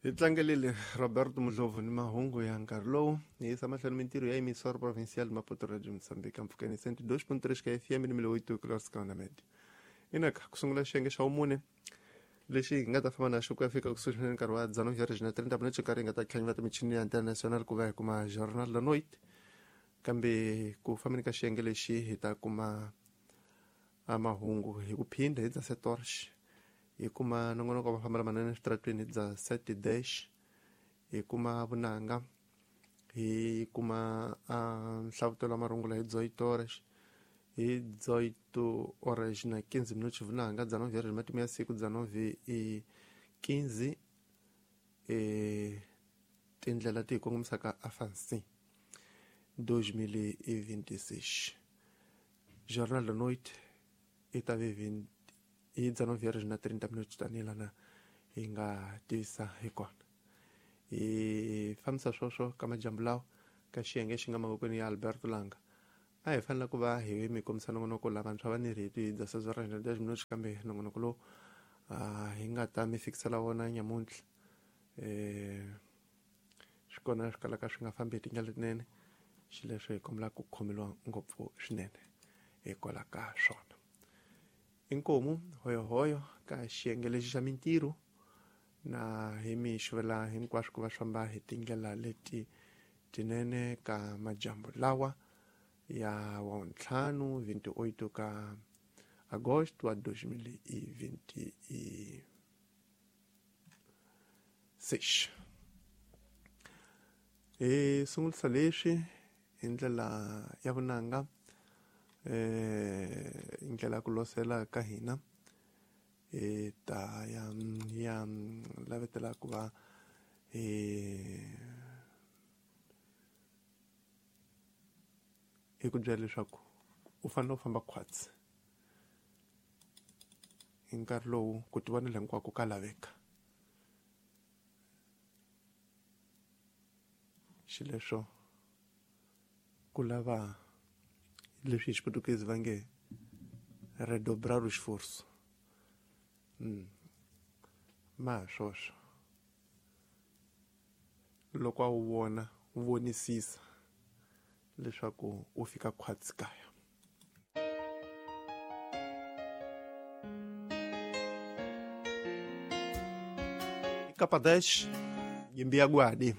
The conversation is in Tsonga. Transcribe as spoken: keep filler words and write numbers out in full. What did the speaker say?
Hi tlangelile Roberto Mudlovu ni mahungu ya nkarhi lowu hi yisa mahlweni mintirho ya emissora provincial Maputo Radio Moçambique mpfhukeni cento e dois ponto três ka F M ni mil oito kilohertz na média. Inaka ku sungula xiyenge xa vumune lexi hi nga ta famba na xo ku ya fika kusuhi swinene nkarhi wa dezenove horas na trinta minutos nkarhi hi nga ta tlhanyela michini ya international ku va hi kuma Jornal da Noite. Kambe ku fambeni ka xiyenge lexi hi ta kuma mahungu hi ku phinda hi dezessete horas hi kuma nongonoko wa mafambelo manene eswitarateni hi dezessete dez hi kuma vunanga hi kuma nhlavutelo wa marungula hi dezoito horas hi dezoito horas na quinze minutos vunanga dezenove horas matimu ya siku dezenove e quinze e tindlela ti hi kongomisaka afansi dois mil e vinte e seis. Jornal da Noite i ta ve vinte i dezenove horas na trinta minutos tanihi lana hi nga tivisa hi kona. Hi fambisa sweswo ka majambu lawa ka xiyenge xi nga mavokweni ya Alberto Langa. A hi fanele ku va hi mi kombisa nongonoko lavantshwa va ni rito hi dezesseis horas na dez minutos kambe nongonoko lowu hi nga ta mi fikisela wona nyamuntlha swi kona swi kalaka swi nga fambi hi tindlela letinene xileswo hi kombela ku khomeriwa ngopfu swinene hikwalaho ka swona. Inkomu hoyohoyo ka xiyenge lexi xa mintirho na hi mi xuvela hinkwaswo ku va swi famba hi tindlela leti tinene ka majambu lawa ya wa ntlhanu vinte e oito ka agosto wa dois mil e vinte e seis. Hi sungulisa leswi hi ndlela ya vunanga eh ndlela ya ku losela ka hina hi ta ya ya lavetela ku va hi hi ku byela leswaku u fanele u famba khwatsi hi nkarhi lowu ku tivonela hinkwako ka laveka. Xileswo ku lava leswi hi xiputukezi va nge redobrar o esforço. Mm. Ma swoswo loko a wu vona u vonisisa leswaku u fika khwatsi kaya. Capa dez, Yimbi Aguadi.